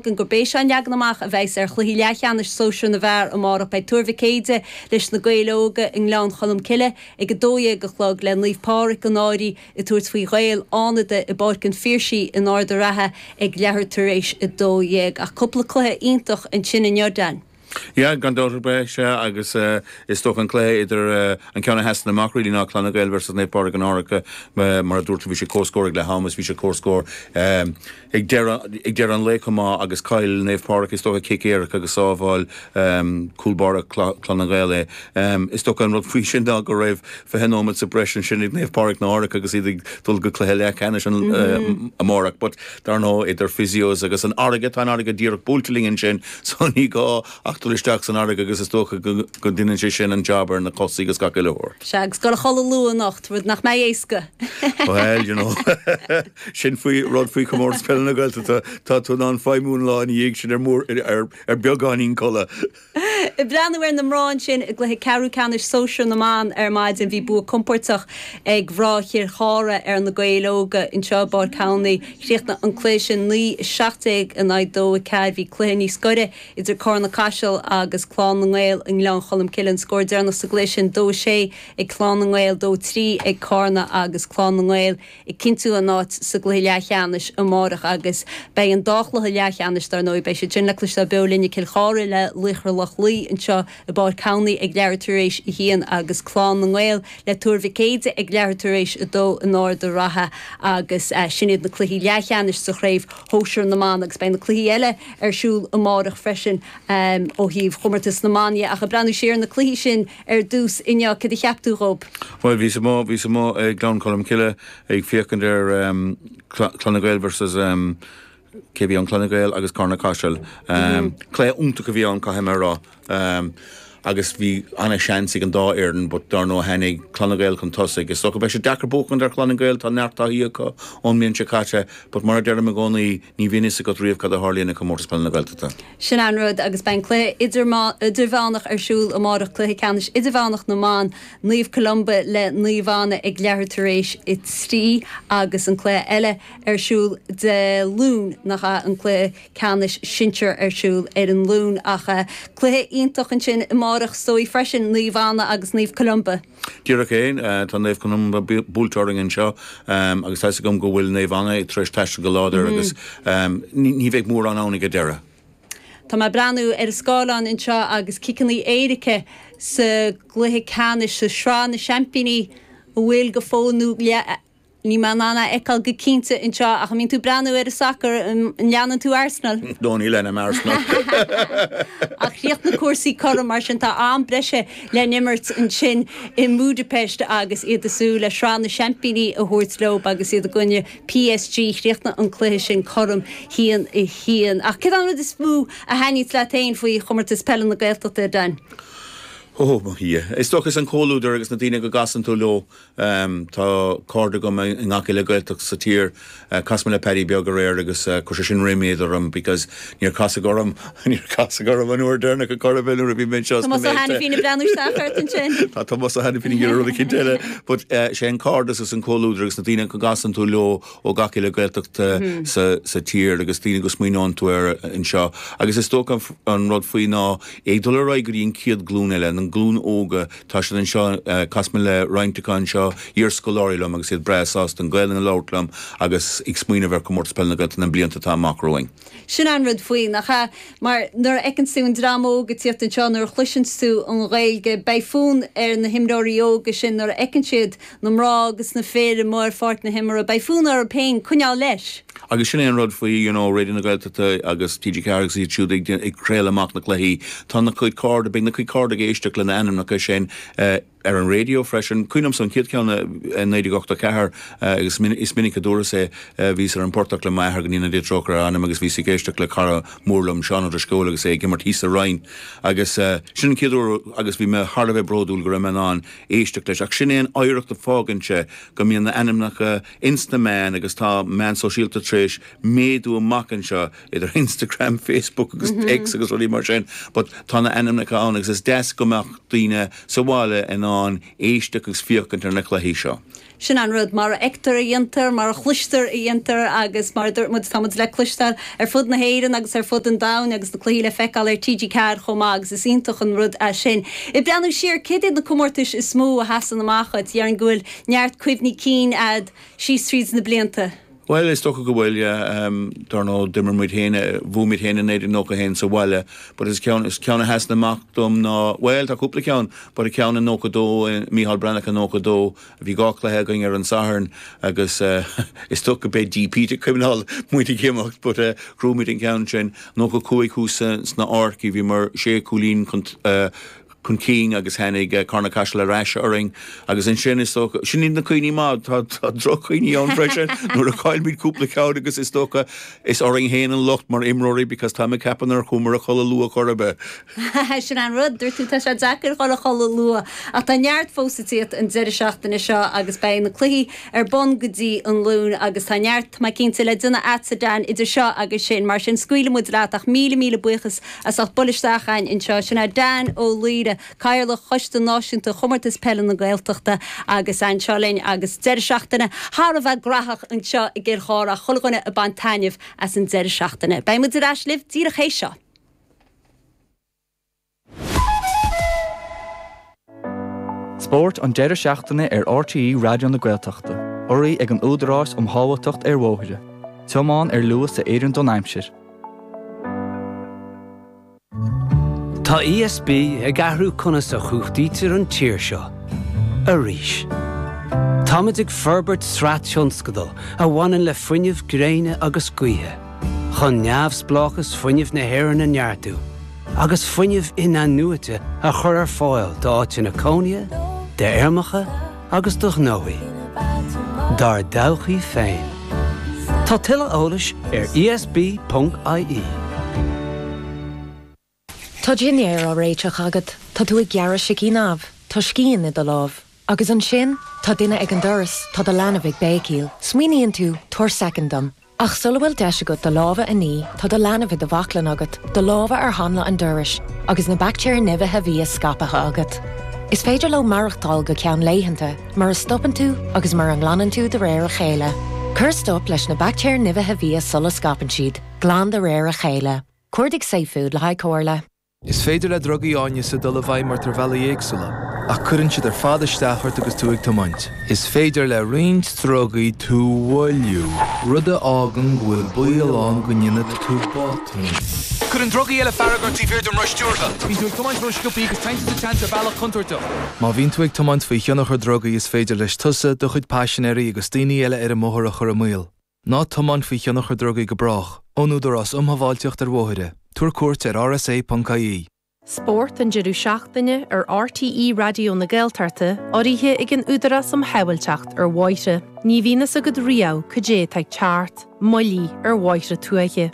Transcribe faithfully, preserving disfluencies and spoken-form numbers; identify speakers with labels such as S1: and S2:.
S1: Gurb é seo an leagan amach a bheas ar chluichí leathcheannais sóisir na bhfear amárach. Beidh Tuar Mhic Éide leis na Gaeil Óga i nGleann Cholm Cille ag a dó dhéag a chlog, le Naomh Pádraig an Fhairche ag tabhairt faoi Ghaeil Fhánada i bPáirc an Phiarsaigh in Ard an Rátha ag leathuair tar éis a dó dhéag. Ach cúpla cluiche iontach ansin inniu, Dan.
S2: Ja, gan dabht ar bith sé agus uh, is dócha an cluiche idir uh, an ceann a sheasann amach really ná Clanna Gael versus Naomh Pádraig an Fhairche, mar a dúirt, bhí sé comhscór ag leath ama is bhí sé comhscór um, ag deireadh an lae chomh maith agus chaill Naomh Pádraig is dócha cic éirice agus sábháil um, cúl báire Clanna Gael é. Um, is dócha an rud faoi sin ná go raibh fiche nóiméad sa breis sin ag Naomh Pádraig an Fhairche agus iad ag dul go cluiche leathcheannais an mm -hmm. uh, amárach, but dar ndóigh idir physios agus an fharraige, tá an fharraige díreach buailte linn sin, so ní gá ach dul isteach san fharraige agus is dócha go ndéanann sé sin an job ar na cosa agus gach uile shórt.
S1: Se agus go chodladh luath anocht, rud nach mbeidh éasca.
S2: Well, you know sin faoi rud faoi Chomórtas Peile na Gaeltachta, tá tú an feimún lá dhiaidh sin ar mór ar ar beagáinín codladh.
S1: Ag breathnú ar na mná sin i gcluiche ceathrú ceannais sóisir na mban ar maidin, bhí bua compordach ag mná Chill Chartha ar na Gaeil Óga anseo i bPáirc Thamhnaigh. Chríochnaigh an cluiche sin naoi seacht déag in aghaidh dó a ceathair. Bhí cluiche níos gaire idir Carna Caiseal agus Clann na nGael i nGleann Cholm Cille. An scór deireanach sa gcluiche sin dó sé ag Clann na nGael, dó trí ag Carna, agus Clann na nGael ag cinntiú a n-áit sa gcluiche leathcheannais amárach. Agus beidh an dá chluiche leathcheannais, dar ndóigh, beidh siad sin le cloisteáil beo linn, Cill Chartha le Laochra Loch Lao anseo i bPáirc Thamhnaigh ag leathuair tar éis a haon agus Clann na nGael le Tuar Mhic Éide ag leathuair tar éis a dó in Ard an Rátha, agus uh, sin iad na cluichí leathcheannais sa chraobh shóisir na mban, agus beidh na cluichí eile ar siúl amárach freisin um, ó thaobh chomórtas na mban. Ach ag breathnú siar na cluichí sin ar dtús inniu, cad a cheap tú dhóibh?
S2: Well, bhí mo bhí mo ag Gleann Cholm Cille ag féachaint ar um, Clanna Gael versus um, cé bhí an Clanna Gael agus Carna Caiseal. Um, mm -hmm. Cluiche iontach a bhí ann, caithfidh mé a rá. Um, agus bhí an-seans ag an dá fhoireann, but dar ndóigh tháinig Clanna Gael chun tosaigh. Is dócha beidh sé deacair buachan ar Chlanna Gael, tá neart taithí acu ón mbliain seo caite, but mar a deirim i gcónaí, ní bhíonn a fhios agat riamh cad a tharlaíonn i comórtas peile na Gaeltachta.
S1: Sin an rud, agus beidh cluiche idirmheánach ar siúl amárach, cluiche ceannais idirmheánach na mban, Naomh Columba le Naomh Anna ag leathuair tar éis a trí, agus an cluiche eile ar siúl Dé Luain, nach an cluiche ceannais sinsir ar siúl ar an Luan, ach uh, cluiche iontach ansin amárach is dóigh freisin, Naomh Anna agus Naomh Columba.
S2: Díreach é, tá Naomh Columba buailte orainn anseo um, agus tá gom go bhfuil Naomh Anna tar éis taisteal go láidir mm -hmm. agus um, ní bheidh mórán ann ag deireadh.
S1: Tá mé ag breathnú ar an scáileán anseo agus ciceanna éirice sa gcluiche ceannais sa sraith na seaimpíní a bhfuil go fóill nó ní mé an fheiceáil go cinnte anseo, ach mbíonn tú ag breathnú ar an sacar, an leanann tú Arsenal?
S2: No, ní leanaim Arsenal.
S1: Ach chríochnaigh cúrsaí cothrom, mar sin tá am breise le n-imirt ansin i mBudapest agus iad ag súil le sraith na seaimpíní a thabhairt leo agus iad i gcoinne P S G. Chríochnaigh an cluiche sin cothrom haon a haon. Ach cad an rud is mó a thaitníonn leat féin faoi chomórtas peile na Gaeltachta, Dan?
S2: Ó Dhia. Is dócha an comhluadar agus na daoine go gcasann tú leo. um, tá cairde agam i ngach uile Gaeltacht sa tír. uh, Chas mé le Paddy Beag aréir agus uh, chuir sin ríméad orm because níor casadh orm níor casadh orm an uair dheireanach a chur nuair a bhí mé
S1: Tá bhí breú sin.
S2: Tá Tomás Ó hAiniféin rud eicínt eile, but uh, sé an cairdeas agus an comhluadar agus na daoine go gcasann tú leo ó gach uile Gaeltacht uh, mm -hmm. sa, sa tír agus daoine go smaoiníonn tú ar anseo. Agus is dócha an rud faoi ná ag dul ar aghaidh go dtí an chéad ghlúin eile, an glún óga, tá siad anseo, uh, chas mé le roinnt acu anseo, iarscoláirí liom, agus iad breá sásta an Ghaeilge a labhairt liom agus ag smaoineamh ar comórtas peile na Gaeltachta na blianta atá amach romhainn.
S1: Sin an rud faoi, nach ea, mar nuair a fheiceann tú an dream óg ag tíocht anseo, nuair a chloiseann tú an Ghaeilge, beidh fonn ar na himreoirí óga sin nuair a fheiceann siad na mná agus na fir amuigh ar pháirc na himeartha, beidh fonn orthu féin coinneáil leis.
S2: Agus sin é an rud faoi you know, Raidió na Gaeltachta agus T G Ceathair agus iad siúd ag, ag craoladh amach na cluichí. Tá na cuid cairde, beidh na cuid cairde ag éisteacht lena ainmneacha sin uh, ar an radio freisin. Cuimhním an chéad cheann naoi déag ochtó ceathair agus is minic a dúras é, bhíos ar an bportach le m'athair, go ndéana Dia trócaire ar a anam, agus bhíos ag éisteacht le cara mór liom, Seán Ó Drisceoil, agus é ag imirt thíos sa Rinn, agus sin an chéad uair agus bhí mé thar a bheith bródúil go raibh mé in ann éisteacht leis. Ach sin é an oidhreacht a fágann sé, go mbíonn na ainmneacha ins na meáin, agus tá meán sóisialta tar éis méadú amach anseo idir Instagram, Facebook agus mm -hmm. X agus rudaí mar sin, but tá na ainmneacha ann agus is deas go mbeadh daoine sa bhaile in ann éisteacht agus féachaint ar na cluichí seo.
S1: Sin an rud mar a fheictear a dhéantar, mar a chloistear a dhéantar agus mar muid táimid le cloisteáil ar fud na hÉireann agus ar fud an domhain agus na cluichí le feiceáil ar TG Ceathair chomh maith agus is iontach an rud é sin. Ag breathnú siar cad iad na comórtais is mó a sheasann amach duit déarfainn go bhfuil neart cuimhní cinn agat síos tríd na blianta.
S2: Well is dócha go bhfuil um, dar ndóigh d'imir muid féin bhuaigh muid féin in naoi déag nócha haon sa bhaile, but is ceann is ceann a sheasann amach dom ná well tá cúpla ceann, but a ceann in nócha dó Mícheál Breathnach in nócha dó bhí dhá chluiche againn ar an Satharn agus uh, is dócha beidh DP ag cuimhneáil muid ag imeacht, but uh, bhuaigh muid an ceann sin nócha cúig thuas sna Arcaí bhí mar sé cúilín chun uh, chun cinn agus tháinig uh, Carna Caiseal ar ais orainn agus ansin is dócha sin iad na cuimhní maithe tá tá drochchuimhní ann freisin nuair a chaill muid cúpla ceann agus is dócha is orainn féin an locht mar imreoirí because tá mé ag ceapadh nár chuamar a chodladh luath chor ar bith.
S1: Sin an rud dúirt tú tá sé deacair dhul a chodladh luath ach tá neart fós tíocht an deireadh seachtaine seo agus beidh na cluichí ar bun go dtí an Luan agus tá neart má cinnte le déanamh agat Dan idir seo agus sin mar sin scaoilfidh muid leat ach míle míle buíochas as ucht bualadh isteach chugainn anseo sin é Dan Ó Laoire Cathaoirleach Choiste Náisiúnta Chomórtas Peile na Gaeltachta agus anseo linn agus deireadh seachtaine thar a bheith gnóthach anseo i gCill Chartha chuile dhuine ag baint taitneamh as an deireadh seachtaine. Beidh muid ar ais libh díreach théis seo.
S3: Spórt an deireadh seachtaine ar RTÉ Raidió na Gaeltachta, urraithe ag an Údarás um Shábháilteacht ar Bhóithre. Tiomáin ar luas a oireann don aimsir.
S4: Tá ESB ag athrú conas a chumhachtaítear an tír seo. Arís. Táimid ag forbairt sraith tionscadal a bhaineann le fuinneamh gréine agus gaoithe, chun neamhspleáchas fuinnimh na hÉireann a neartú, agus fuinneamh in-athnuaite a chur ar fáil d'áiteanna cónaithe, d'fheirmeacha agus do ghnóthaí. Dár dtodhchaí féin. Tá tuilleadh eolais ar ESB.ie.
S5: Tá dinnéar á réiteach agat, Tá tú ag gearradh sicín amh, Tá scian i do lámh. Agus ansin, tá duine ag an doras, tá do leanbh ag béicíl. Smaoiníonn tú tabhair soicind dom. Ach sula bhfuil deis agat do lámha a ní, tá do leanbh i do bhaclainn agat, do lámha ar hanla an dorais, agus na baictéir nimhithe bhia scaipthe agat. Is féidir leo maireachtáil go ceann laethanta, mura stopann tú agus mura nglanann tú de réir a chéile. Cuir stop leis na baictéir nimhithe bhia sula scaipeann siad, glan de réir a chéile. Cuardaigh Safefood le haghaidh comhairle.
S6: Is féidir le drugaí áineasa dul i bhfeidhm ort ar bhealaí éagsúla, ach cuireann siad ar fad isteach ort agus tú ag tiomáint. Is féidir le roinnt drugaí tú a mhoilliú, rud a fhágann go bhfuil baol ann go ndéanfaidh tú botún. Cuireann drugaí eile fearg ort taobh thiar den roth stiúrtha. Bíonn tú ag tiomáint ró-sciobtha agus téann tú sa tseans ar bhealach contúirteach. Má bhíonn tú ag tiomáint faoi thionchar drugaí is féidir leis tusa, do chuid paisinéirí agus daoine eile ar an mbóthar a chur i mbaol. Ná tiomáin faoi thionchar drugaí go brách, ón Údarás um Shábháilteacht ar Bhóithre. Tabhair cuairt ar rsa.ie.
S7: Spórt an deireadh seachtaine ar RTÉ Raidió na Gaeltachta urraithe ag an Údarás um Shábháilteacht ar Bhóithre. Ní bhíonn a fhios agat riamh cad é atá ag teacht, moillí ar bhóithre tuaithe.